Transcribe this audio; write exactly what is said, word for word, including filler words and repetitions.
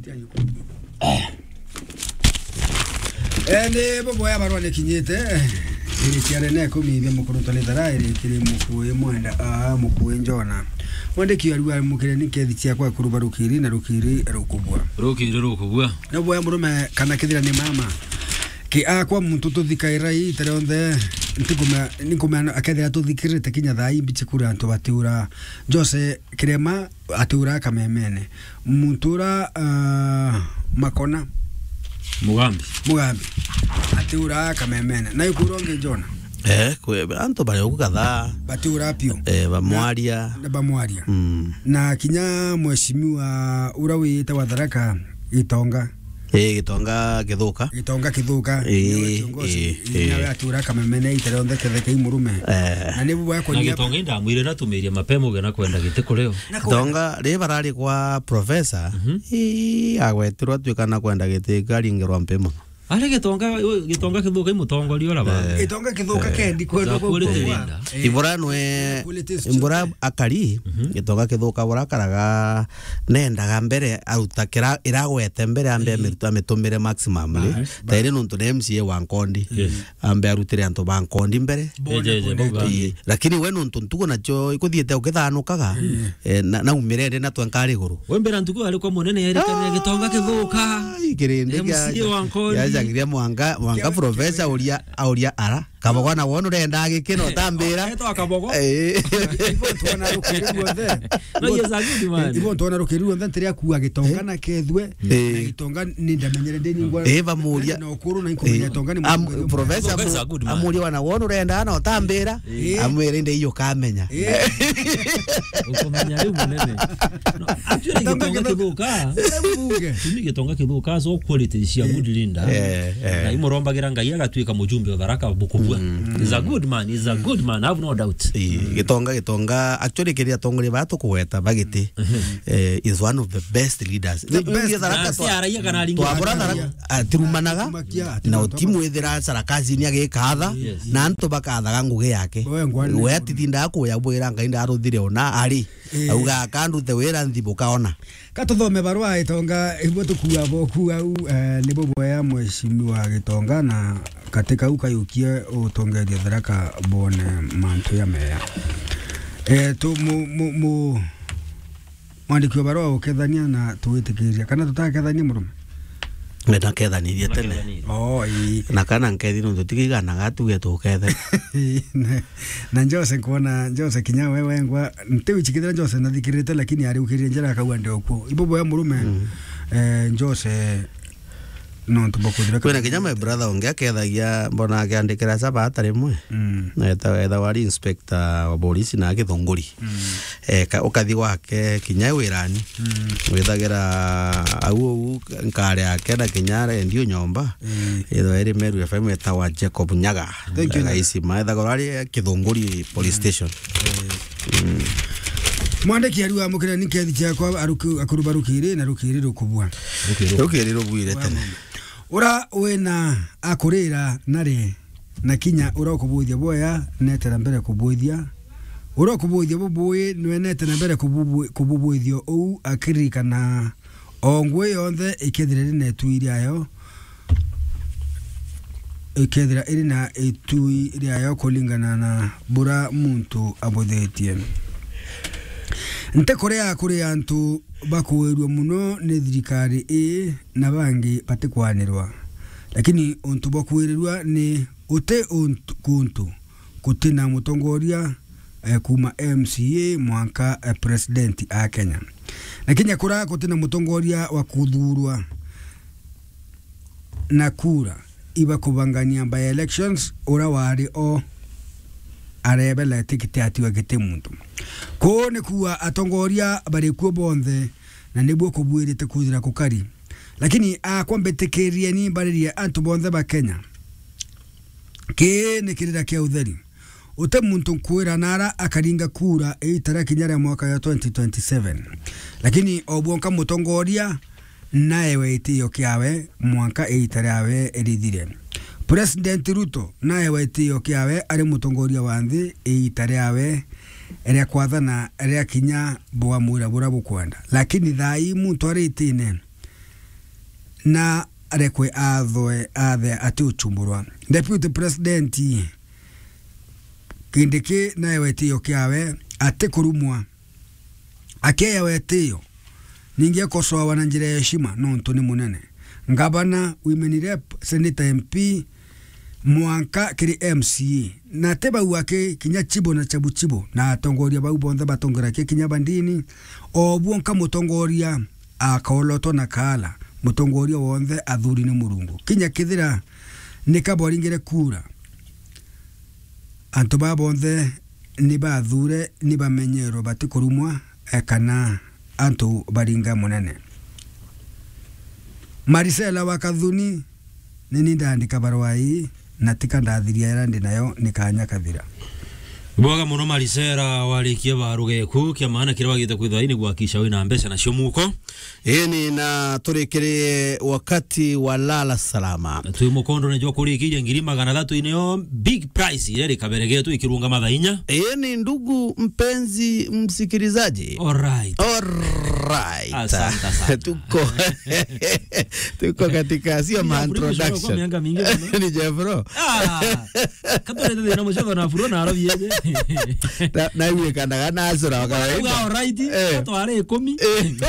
Eh, ni buboya barua nikinyite. Iri ciare ne kumi bia mukuru twa ni thara, iri kiri mukui mwenda, ah, mukui Njona. Mwandiki arua mukire ni kethi ciakwa kuru barukiri na rukiri rukubua. Rukiri rukubua. Na boya murume kana kethira ni mama. Ki akwa muntu tuthikaira ii ita rionthe, ntikumea, ninkumea akethira tuthikirite kinya thaa ii mbichi kuri antu batiura. Jose Kirema atiura Kamemene. Muntu ura, ah, Makona. Mugambi. Mugambi. Atiura Kamemene. Na ikuru ungi Jona. Eh, kwe, antu bari ugu kadhaa. Batiura piu. Eh, bamwaria. Na, na bamwaria. Mm. Na kinya mheshimiwa ura wiyite wa Tharaka, Gitonga. Eh, Gitonga Kithuka. Gitonga Kithuka, Ii, niwe kiongozi, ii, ii, ii. Niwe atura Kamemene ita rionthe ketheke i murume. Eh. Na nibu bwa Na kunyia Gitonga indamwire natumirie mapema uge na kwenda giti kurio. Na ku- Gitonga, ri barari kwa professor, Mhm. ii, agwetirwa atuika na kwenda giti karingirwa mpi mono. Ari Gitonga, u-, Gitonga Kithuka i mutongoria ura ba. Eh. Gitonga Kithuka Eh. kendi kwenda Za kwa quality kwa. Leader. Eh. Ibura nwe, Quality is Ibura children. Akari, Mhm. Gitonga Kithuka bura akaraga nendaga mbere aruta kira iragwete mbere ambe Ii. amiruta amitumire maximum ri. Bas, bas. Tairi nuntu ni M C A wa Nkondi. Yes. Ambe arutire antu ba Nkondi mbere. Bone Eje, eje, bone bauga. Ii. Lakini we nuntu ntugo nacio ikuthiite ukithanukaga, Ii. eh, na, naumire ndi na twenka ari iguru. We mbere ntugo ari kwa munene erikania Gitonga Kithuka. Ai, kirindi M C A kia, wa Nkondi. Yajagiria mwanga, mwanga Kia, professor kia. Auria, auria ara. Kabogo na wona urenda agikina utambira. Etwa Kabogo. Eh. Ibo twona rukiri ruothe. No, he is a good man. Ibo twona rukiri ruothe, ntiri akua Gitonga Eh. na kethwe. Eh. Na Gitonga ni ndamenyere ndi ningwa. Eh, bamuria. Na ukuru na inkumenya Eh. Gitonga ni Am-, mutongoria professor Gitonga is a amu-, good man. Amuria wana wona urenda na utambira. Eh. Amwire ndi iyo kamenya. Eh. Ukumenya riu munene. No, actually, Gitonga Gitonga Kithuka. Mbunge. Tumi Gitonga Kithuka, so quality cia Eh. good leader. Eh, eh. Na imurombagira Ngai agatuika mujumbe wa Tharaka bukubua. Mm. He's a good man, he's a good man, I have no doubt. Ii, Gitonga, Gitonga, actually, kiri atongoria ba tukugweta bagiti, Mhm. eh, is one of the best leaders. The Ni-, best. Tharaka Na twa-, si araia kana aringi twabura araia. Tharaka, atirumanaga, Atirumakia, na atirumanaga. Utimwithira sarakazini agikatha, Yes. na antu bakathaga ngugi yake. We ngwani. We atitindaga kuya bwira Ngai ndaruthire ona ari. Eh. Auga, "Akandute wira nthi bukaona." Ka tuthome barua Gitonga, ibo tukua boku au, eh, nibo boya mheshimiwa Gitonga na katika u kayukie utongeria Tharaka bone mantu ya meya. Eh, tu mu, mu, mu, mwandiki wa barua ukethania na tuwitikiria. Kana tutakethania murume? Nenda kethanirie tene. Makethanirie. Oh, ii. Na kana nkethi nuntu tigiganaga tuge tukethe. Na, na Jose nkwona, Jose kinya we wengwa, ntiwichikithira Jose nathikirite, lakini ariukirie njira akauga ndi okuo. Ibo boya murume, Mm. eh, Jose, nontu bokuthira Kwina kinya my brother ungi akethagia, mbona akiandikira Sabata rimwe. Mm. Na etha, etha wari inspector wa polisi na Githunguri. Mm. Eh, ka-, ukathi gwake kinya wirani. Mm. Withagira au, au nkari yake na kinya redio nyomba. Mm. Ithwa iri Meru F M etagwa Jacob Nyaga. Thank you, Nyaga. Gaisima, ethagirwa ari Kithunguri Police Station. Mm. Mwandiki ariwa amukire ni kethi ciakwa aruki-, akuru barukiri na rukiri rukubua. Rukiri rubwire tene. Ura wina akurira nari na kinya ura ukubuithia boya netera mbere kubuithia. Ura ukubuithia bubui nwenete na mbere kububu-, kububuithio uu akiririkana o ngui yonthe ikethira iri na itui riayo, ikethira iri na itui riayo kuringana na bura muntu abuthitie. Nti kuria kuri antu bakuirua muno ni thirikari ii na bangi batikwanirwa, lakini untu bwa kwirirua ni uti untu, kuntu kutina mutongoria, eh, kuma M C A mwanka, eh, president a Kenya. Na kinya kura kutina mutongoria wa kuthurwa na kura iba kubangania by elections, ura wari o arebela tikiti atiwa giti muntu. Kuu ni kuuga atongoria bari kuo bonthe, na nibuo kubuirite kwithira kukari. Lakini akwa mbitikirieni mbaririe antu bonthe ba Kenya. Kii ni kirira kia utheri. Uti muntu nkwira nara akaringa kura iita ria kinya ria mwaka ya twenty twenty-seven. Lakini o bwonka mutongoria naewe itio kiawe mwanka iita riawe rithire. President Ruto naewe itio kiawe ari mutongoria wa nthi iita riawe ria kwathana ria kinya bwamwira bura bukwenda. Lakini thaa ii muntu ari itine na arekwe athoe athe ati uchumburwa. Deputy President Kindiki naewe itio kiawe ati kurumwa. Akeewa itio, ningi ekosoawa na njira ya heshima nontu ni munene. Ngavana, women rep, senator, M P, mwanka kiri M C A. Na ti bau aki, kinya chibo na chabu chibo, na atongoria bau bonthe batongoragia kinya bandini, o buo nka mutongoria akaolotwa na kaala, mutongoria wonthe athuri ni Murungu. Kinya kethira ni ka boringire kura, antu baa bonthe ni bathure, ni bamenyerwe batikurumwa, eh, kana antu baringa munene. Marisela wa Kathuni, ni ni ndaandika barua ii, na tika ndathiria iria ndi nayo, ni kaanya kathira. Bwega mono, Marisela, warikie baruga eku, kia maana kiria wagite kwithirwa ni gwakisha wina mbeca nacio muko. Ii ni na turikirie wakati wa lala salama. Twi mukondo ni jwa kurikiria ngiri magana thatu inio big prize iria rikaberegetwe ikirunga mathaa inya. Ii ni ndugu mpenzi msikilizaji. Alright. Alright. Asante sana. Tuko, tuko katika, sio ma introduction. Miaka mingi sana. Ni Jeffro. Ah, kabla ndio na mshoto na furo na arabi yeje. Na, na iwe kana kana asura wa kawaida. Alright. Eh. Atware ikumi. Eh.